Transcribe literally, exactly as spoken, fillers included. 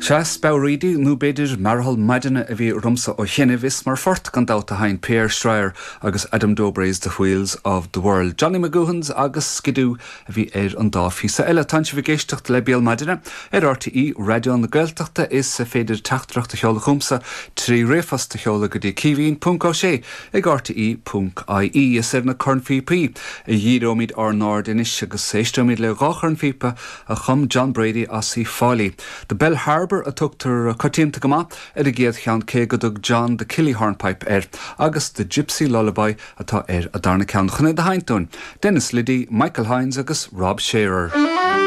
Sea, speabhraídí nó b'fhéidir mearathal maidine a bhí romhamsa ó chianaibh is mar phort gan dabht a sheinn Pierre Schreier agus Adam Dobré's The Wheels of the World. Johnny McGoohan's agus Skidoo a bhí ar an dá phíosa eile. Tá sibh ag éisteacht le Béal Maidine ar RTÉ Raidió na Gaeltachta is féidir teachtaireacht a sheoladh chugamsa trí ríomhphost a sheoladh go dtí Caoimhín ponc Ó Sé ag RTÉ ponc IE is ar na cornphíopaí a dhíreoimid ár n-aird anois agus éisteoimid le dhá chornphíopa a chum John Brady as Uíbh Fhailí. The Bell Harbour a tugtar coitianta go maith ar an gcéad cheann cé go dtug John the Killy Hornpipe air, agus the Gypsy Lullaby atá ar an darna ceann chun iad a sheinnt dúinn. Dennis Liddy, Michael Hines agus Rob Shearer.